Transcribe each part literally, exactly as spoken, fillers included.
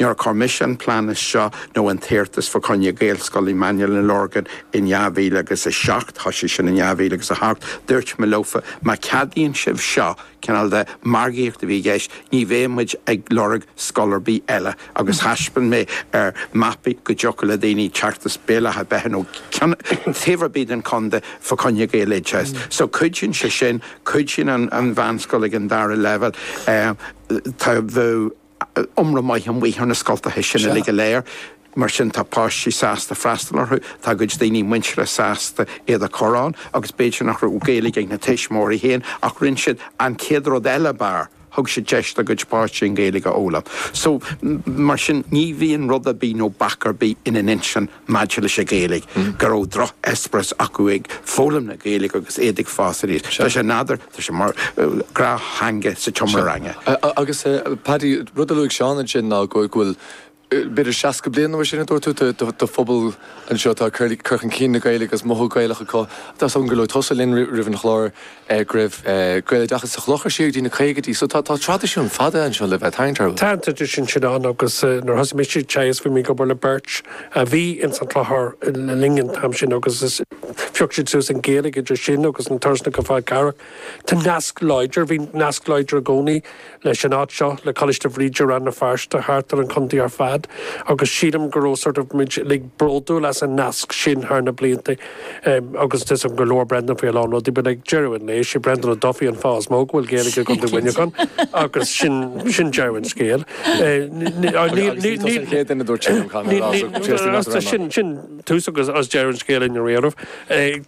Nuair a chuir mise an plean seo nó an t-iarratas fá choinne Gaelscoil i mBaile na Lorgan in dhá mhíle agus a seacht, thosaigh sin in dhá mhíle agus a hocht, dúirt mé leofa má cheadaíonn sibh seo cineál de margaíocht a bhí i gceist, ní bheidh muid ag lorg scoil ar bith eile agus thaispeáin mé ar mapaí go dtiocfadh le daoine teacht as Béal Átha Beithe nó taobh ar bith den chontae fá choinne Gaeloideachas. So cuidíonn sé sin, cuidíonn an, an mheánscoil ag an dara leibhéal tá bheith iomra maith an mhaith ar na scoltacha sin uilig go léir. Mar sin tá páistí sásta freastal orthu, tá cuid daoine muinteartha sásta iad a chur ann, agus b'fhéidir nach raibh Gaeilge ag na tuismitheoirí féin ach rinne siad an chéad rud eile b'fhearr. Thug siad deis dá gcuid páistí an Ghaeilge a fhoghlaim. So mar sin ní bhíonn rud ar bith nó bac ar bith ina n-intinn maidir leis an Ghaeilge, go raibh drocheispéireas acu ag foghlaim na Gaeilge agus iad ag fás aníos. Tá sé nádúrtha, tá sé mar gnáth-theanga sa tseomra ranga. Agus Paddy rud a luaigh Seán ansin ná go bhfuil b'fhéidir seasca bliain nó sin a dúirt tú de phobal anseo tá cur chun cinn na Gaeilge agus mothú Gaelach acu. Tá an go luaigh tusa linn roimh an chlár go raibh Gaeloideachas sa Chlochar siar go dtí na caogaidí, so tá traidisiún fada anseo le bheith tarraingt. Tá an traidisiún sin ann agus nuair thosaigh mise teagasc bhí mé ag obair le beirt a bhí ins an Chlochar le linn an t-am sin agus phioc siad suas an Ghaeilge idir sin agus an turas go Fál Carrach. Tá nasc láidir, bhí nasc láidir i gcónaí leis an áit seo le Coláiste Bhríde Rann na Feirste thart ar an chontae ar fad agus sílim go raibh sort of muid like bródúil as an nasc sin thar na blianta um, agus is go leor Brendan faoi lán rudaí but like deireadh an lae sé Brendan Ó Dufaigh an fáth is mó go bhfuil Gaeilge go Mhuineachán agus sin sin deireadh an scéil. Sin sin tús agus as deireadh an scéil in réamh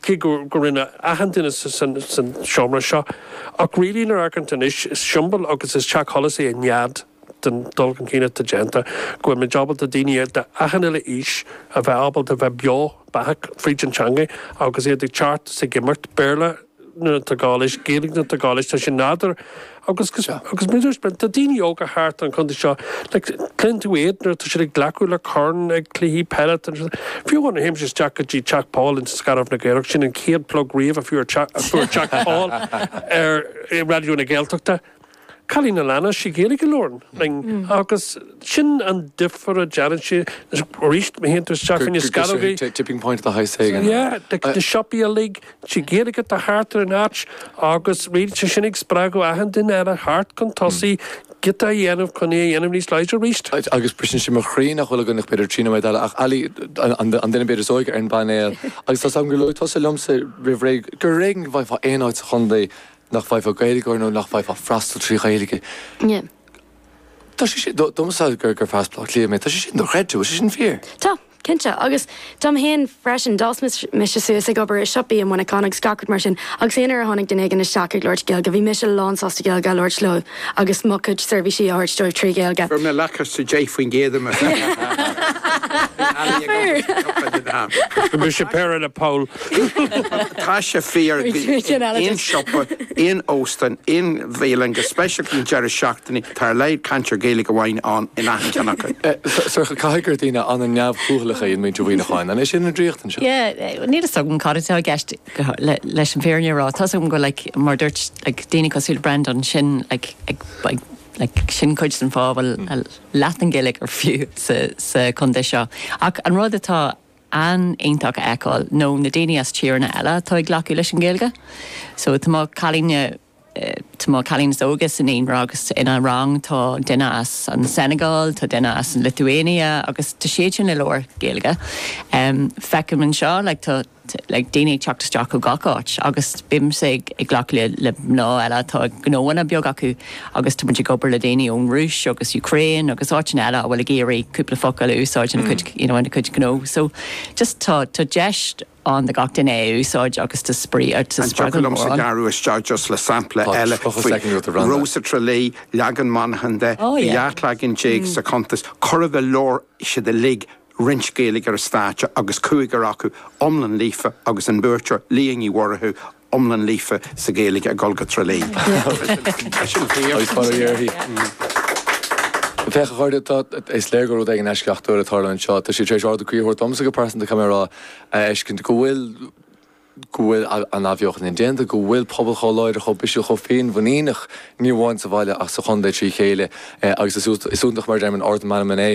cé go go rinne achan duine san seomra seo ach really nuair a amharcann anois is siombail agus is teach solais é an nead den dul chun cinn atá déanta, go bhfuil muid ábalta daoine de achan uile aois a bheith ábalta bheith beo beathach fríd an teanga agus iad ag teacht is ag imirt Béarla nuair atá gá leis, Gaeilge nuair atá gá leis, tá sé nádúrtha agus agus tá daoine óga thart an chontae seo like cluineann tú iad nuair atá siad ag glacadh le corn ag cluichí peile fiú an théim isteach go dtí Teach Paul in Scairbh na Gaorach sin an chéad plug riamh a fuair fuair Teach Paul ar Raidió na Gaeltachta. Cailín na lena sí Gaeilge leorn agus sin an difear a déanann sé arís má théann tú isteach in Scairbh. Tipping point the high sagan. Yeah, na siopaí uilig sí Gaeilge tá thart ar an áit agus rí sé sin ag spreagadh achan duine eile thart chun tosaigh giota a dhéanamh chun é a dhéanamh níos láidre arís. Agus briseann sé mo chroí nach bhfuil againn ach b'fhéidir trí nóiméad eile ach Ali an duine b'fhéidir is óige ar an bpainéal agus tá gur luaigh tusa liomsa roimh ré gur éigean go bhfaighfeá aon áit sa chontae nach bhfaighfeá Gaeilgeoir nó nach bhfaighfeá freastal trí Ghaeilge. Yeah. Tá sé sin domsa gur gur fear Cliath mé, tá sé sin dochreidte, sé sin fíor. Tá. Cinnte agus dom féin freisin d'fhás mise suas ag obair i siopaí i Muineachán agus gach rud mar sin agus aon uair a tháinig duine éigin isteach ag labhairt Gaeilge bhí mise lán sásta Gaeilge a labhairt leo agus mo chuid seirbhísí a thabhairt dóibh trí Ghaeilge. Fuair mé lacáiste deich faoin gcéad me. Bhí sé péire le Paul. Tá sé fíor aon siopa, aon óstán, aon bhialann go speisialta an deireadh seachtaine tá ar leid cainteoir Gaeilge amháin ann in achan cheann acu. Sorcha caithfidh gur daoine an-neamhchúthaileacha iad muintir Mhuineacháin, an é sin an draíocht anseo? Yeah, níl a fhios agam cad atá i gceist leis an bhfírinne a rá. Tá agam go like, mar dúirt like, daoine cosúil Brendan sin like, ag, ag, like, sin cuid den fáth bhfuil leath an Ghaeilge ar fiú sa, sa chontae seo. Ach an rud atá an-iontach a fheiceáil nó na daoine as tíortha eile atá ag glacadh leis an Ghaeilge. So tá cailín Tá cailín is óige san naíonra agus ina rang tá duine as an Senegal, tá duine as an Lithuania agus tá siad sin ag labhairt Gaeilge. Um, Feicim anseo like, tá like, daoine ag teacht isteach ó gach áit agus bímse ag ag glacadh le, le mná eile tá gnóanna beag acu agus tá muid ag obair le daoine ón Rúis agus Ukraine agus áiteanna eile a bhfuil ag iarraidh cúpla focal a úsáid ina cuid you know, ina cuid gnó. So just tá tá deis ann do gach duine é úsáid agus tá spraoi ar An spreagadh sa gearú isteach just le sampla eile Rosa Tralee leagan Monaghan de Oh, yeah. dhá leagan déag sa chuntas chor a bheith leor siad uilig roinnt Gaeilge ar an stáitse agus cúigear acu iomlán líofa agus an buaiteoir Leah Ní Mhurchú iomlán líofa sa Ghaeilge ag dul go Tralee. Agus fara uirthi. Féach a chairde tá is léir gur rud éigin eisceachtúil atá anseo, Tá sé tar éis ardú croí a thabhairt domsa go pearsanta caithfidh mé a rá a fheiscint go bhfuil go bhfuil an athbheochan indéanta, go bhfuil pobal chomh láidir chomh bisiúil chomh féinmhuiníneach ní amháin sa bhaile ach sa chontae trí chéile agus is iontach mar deir ard meanman é.